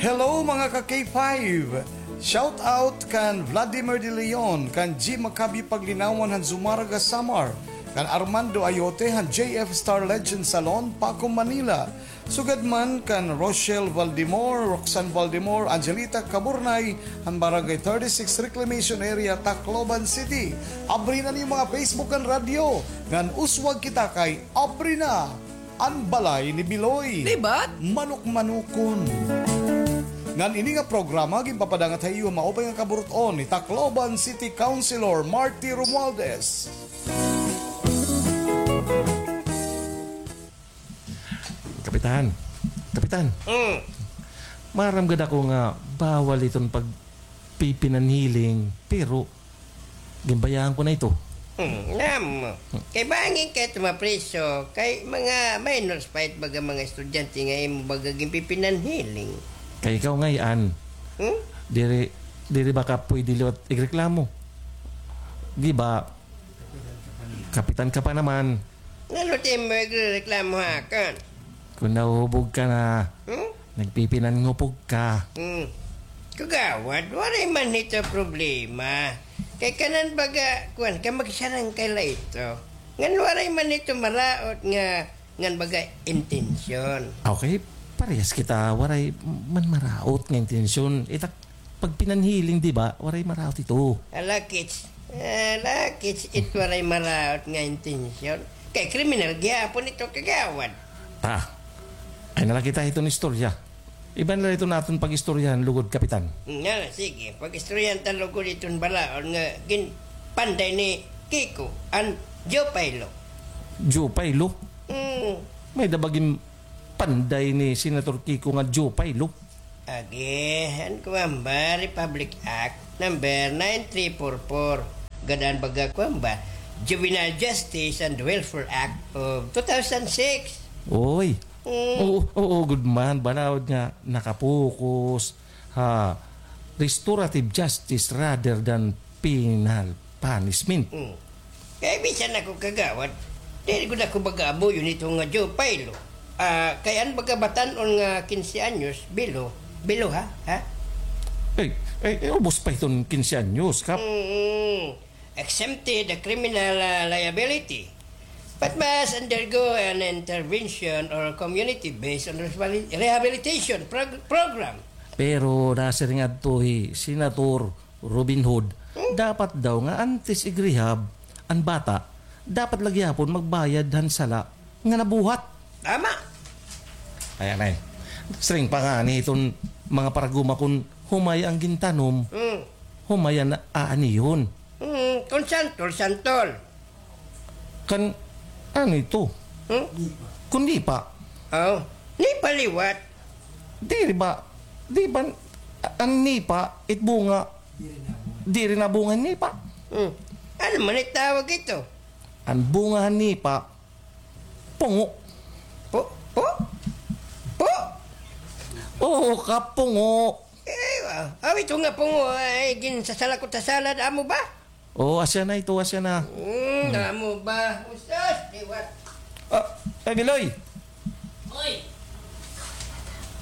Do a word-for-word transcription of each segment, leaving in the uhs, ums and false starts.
Hello, mga ka K five! Shout out kan Vladimir De Leon, kan G Macabio Paglinawan han Zumarraga, Samar, kan Armando Ayote han J F Star Legend Salon, Paco, Manila. Sugad man kan Rochelle Valdemor, Roxanne Valdemor, Angelita Caburnay, han Barangay thirty-six Reclamation Area, Tacloban City. Abri na an iyo mga Facebook ngan radyo, ngan uswag kita kay Abri na an Balay ni Biloy. Libat? Manok-manokon. Ngan ini nga programa ginpapadangat ha iyo maupay nga kaburut-on ni Tacloban City Councilor Marty Romualdez. Kapitan. Kapitan. Mm. Maaram gad ako nga bawal iton pagpipinanhiling, pero ginbayaan ko na ito. Hmm, nam. Kay bangin ka ito mapriso, kay mga minors pa it baga mga estudyante nga imo baga ginpipinanhiling. Kay ikaw ngay-an. Hmm? Diri, diri ba ka pwede liwat igreklamo? Di ba? Kapitan ka pa naman. Nano it imo igrereklamo ha akon? Kon nahuhubog ka na, hmm? Nagpipinanhupog ka. Hmm. Kagawad, waray man hito problema. Kay kanan baga, kuan, kamagsarangkay la ito. Ngan waray man hito maraot nga, ngan baga intensyon. Okay, parehas kita, waray man maraot nga intensyon. Itak pagpinanhiling, di ba? Waray maraot ito. Ala, kits. Ala, kits, it waray maraot nga intensyon. Kay kriminal gihapon ito, kagawad. Ah, ay na la kita hiton istorya. Iba na la iton aton pag-istoryahan lugod, Kapitan. Nga, sige, pag-istoryahan ta lugod iton balaod nga ginpanday ni Kiko, an Joe Pailo. Joe Pailo? Mm. May-ada ba gin panday ni Senator Kiko nga Joe Pailo? Agi, an kuan ba, Republic Act number nine three four four. Gad-an baga kuan ba, Juvenile Justice and Welfare Act of two thousand six. Oy. Mm. Oo, oo, good man. Balaod nga nakapokus ha restorative justice rather than penal punishment. Mm. Kay bisan ako, kagawad, diri gud ako baga abuyon ito nga Joe Pailo. Ah, kay an baga batan-on nga kinse anyos, bilo, bilo ha, ha? Ay, ay, ay, ubos pa iton kinse anyos, Kap. Mm, exempted the criminal, ah, liability, but must undergo an intervention or community-based on responsi-, rehabilitation prog-, program. Pero nasiring adto hi Senator Robin Hood, hmm? Dapat daw nga antes igrehab an bata, dapat la gihapon magbayad han sala nga nabuhat. Tama. Ayan, ay. Siring pa ngani iton mga paraguma, kon humay an gintanom, hmm, humay an aanihon. Hmm, kon santol, santol. Kan, ano ito? Hmm? Kon nipa. Oh, nipa liwat. Diri ba, di ba, an nipa, it bunga, diri nabunga an nipa. Hmm. Ano man it tawag ito? An bunga han nipa, pungo. Pu-, pu-, pu-? Oo, Kap, pungo. Eh, ah, aw, ito nga pungo, ay, ginsasalakot ha salad, amo ba? Oo, asya na ito, asya na. Hmm, amo ba? Usos, liwat. Ah, ay, Biloy. Oy!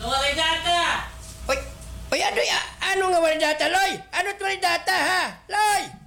Waray data! Oy, oy, ano, ya-, ano nga waray data, Loy? Ano it waray data, ha? Loy!